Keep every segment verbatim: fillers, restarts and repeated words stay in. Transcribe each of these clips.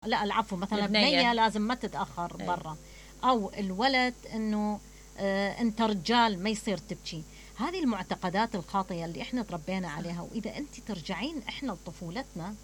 لا العفو، مثلا بنية لازم ما تتأخر برا، أو الولد إنه آه أنت رجال ما يصير تبكي. هذه المعتقدات الخاطئة اللي إحنا تربينا عليها. وإذا أنت ترجعين إحنا لطفولتنا،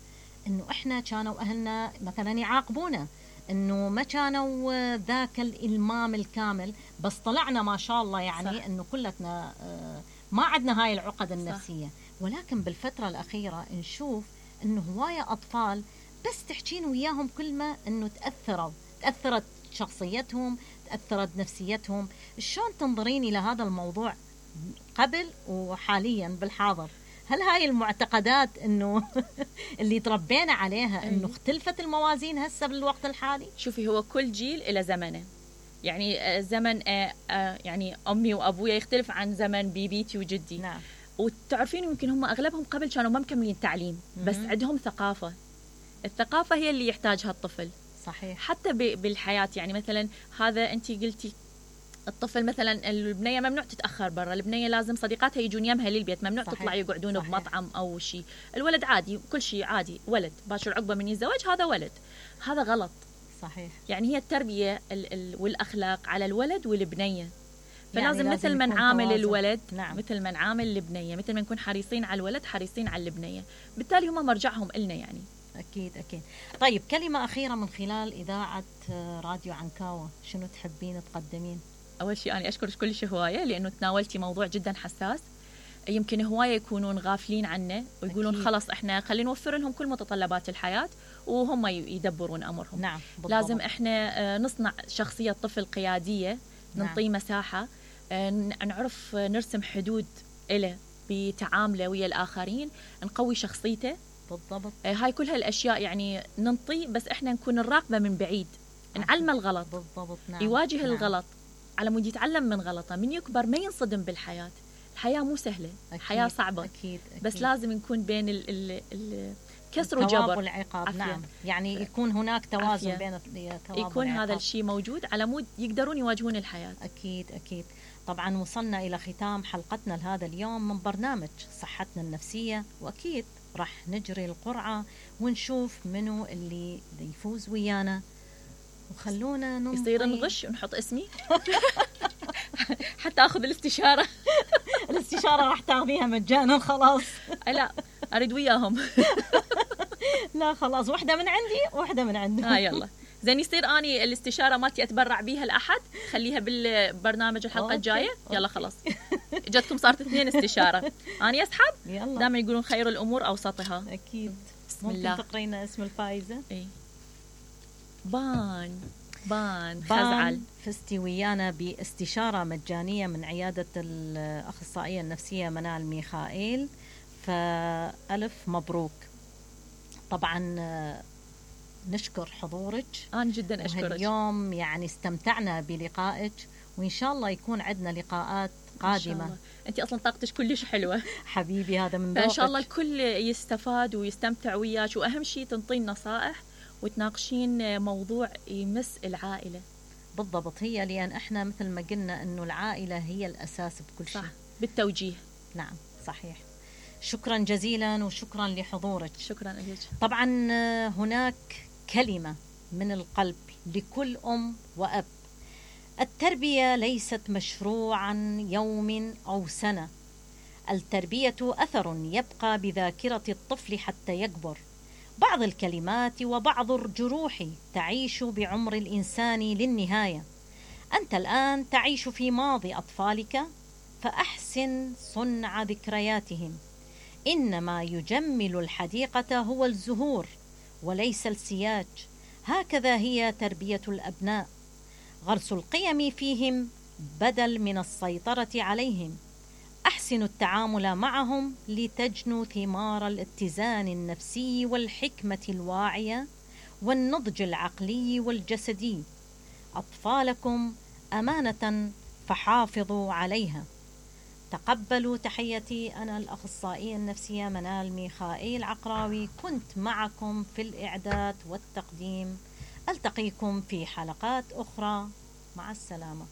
إنه إحنا كانوا أهلنا مثلا يعاقبونا إنه ما كانوا ذاك الإلمام الكامل، بس طلعنا ما شاء الله يعني صح. إنه كلتنا آه ما عندنا هاي العقد النفسية. صح. ولكن بالفترة الأخيرة نشوف إنه هواية أطفال بس تحكين وياهم كلمة إنه تأثروا تأثرت شخصيتهم، تأثرت نفسيتهم. شلون تنظرين إلى هذا الموضوع قبل وحاليا بالحاضر؟ هل هاي المعتقدات إنه اللي تربينا عليها إنه اختلفت الموازين هسه بالوقت الحالي؟ شوفي، هو كل جيل إلى زمنه. يعني زمن يعني أمي وأبويا يختلف عن زمن بيبيتي وجدي. نعم. وتعرفين يمكن هم أغلبهم قبل كانوا ما مكملين تعليم، بس عندهم ثقافة. الثقافة هي اللي يحتاجها الطفل. صحيح. حتى بالحياة، يعني مثلا هذا أنت قلتي الطفل مثلا البنية ممنوع تتأخر برا، البنية لازم صديقاتها يجون يمها للبيت، ممنوع صحيح. تطلع يقعدون صحيح. بمطعم أو شيء. الولد عادي، كل شيء عادي، ولد باشر عقبة من الزواج هذا ولد. هذا غلط. صحيح. يعني هي التربية ال ال والأخلاق على الولد والبنية. فلازم يعني مثل ما نعامل الولد نعم. مثل ما نعامل البنية، مثل ما نكون حريصين على الولد حريصين على البنية، بالتالي هم مرجعهم إلنا يعني. أكيد أكيد. طيب كلمة أخيرة من خلال إذاعة راديو عنكاوة، شنو تحبين تقدمين؟ أول شيء أنا أشكرك كلش هواية، لأنه تناولتي موضوع جدا حساس. يمكن هواية يكونون غافلين عنه ويقولون أكيد. خلاص إحنا خلينا نوفر لهم كل متطلبات الحياة وهم يدبرون أمرهم. نعم. بالضبط. لازم إحنا نصنع شخصية طفل قيادية، نعطيه نعم. مساحة، نعرف نرسم حدود إله بتعامله ويا الآخرين، نقوي شخصيته. بالضبط. هاي كل هالأشياء يعني ننطي، بس إحنا نكون الراقبة من بعيد، نعلم الغلط. بالضبط. نعم. يواجه نعم. الغلط على مود يتعلم من غلطه، من يكبر ما ينصدم بالحياة. الحياة مو سهلة. أكيد. الحياة صعبة. أكيد. أكيد. بس لازم نكون بين ال ال ال كسر وجبر والعقاب. نعم. يعني يكون هناك توازن عفية. بين الثواب يكون والعقاب. هذا الشيء موجود على مود يقدرون يواجهون الحياة. أكيد أكيد. طبعا وصلنا إلى ختام حلقتنا لهذا اليوم من برنامج صحتنا النفسية، وأكيد راح نجري القرعة ونشوف منو اللي يفوز ويانا، وخلونا ننطي. يصير نغش ونحط اسمي حتى أخذ الاستشارة. الاستشارة راح تاخذيها مجانا خلاص. لا أريد وياهم. لا خلاص، واحدة من عندي واحدة من عندهم. ها يلا زين، يصير أني الاستشارة مالتي أتبرع بيها الأحد، خليها بالبرنامج الحلقة الجاية. يلا خلاص جتكم صارت اثنين استشارة. أنا أسحب. دائما يقولون خير الأمور أوسطها. أكيد. بسم ممكن الله. تقرينا اسم الفائزة؟ إيه. بان بان خزعل فزتي ويانا باستشارة مجانية من عيادة الأخصائية النفسية منال ميخائيل، فألف مبروك. طبعا نشكر حضورك. أنا جدا أشكرك. اليوم يعني استمتعنا بلقائك، وإن شاء الله يكون عندنا لقاءات قادمة. أنت أصلا طاقتش كلش حلوة. حبيبي هذا من ذوقك. فإن شاء الله الكل يستفاد ويستمتع وياك، وأهم شيء تنطين نصائح وتناقشين موضوع يمس العائلة. بالضبط. هي لأن إحنا مثل ما قلنا إنه العائلة هي الأساس بكل شيء. صح. بالتوجيه. نعم صحيح. شكرا جزيلا وشكرا لحضورك. شكرا لك. طبعا هناك كلمة من القلب لكل أم وأب: التربية ليست مشروعا يوم أو سنة، التربية أثر يبقى بذاكرة الطفل حتى يكبر. بعض الكلمات وبعض الجروح تعيش بعمر الإنسان للنهاية. أنت الآن تعيش في ماضي أطفالك، فأحسن صنع ذكرياتهم. إنما يجمل الحديقة هو الزهور وليس السياج. هكذا هي تربية الأبناء، غرس القيم فيهم بدل من السيطرة عليهم. أحسنوا التعامل معهم لتجنوا ثمار الاتزان النفسي والحكمة الواعية والنضج العقلي والجسدي. أطفالكم أمانة فحافظوا عليها. تقبلوا تحياتي، أنا الأخصائية النفسية منال ميخائيل عقراوي، كنت معكم في الإعداد والتقديم. ألتقيكم في حلقات أخرى، مع السلامة.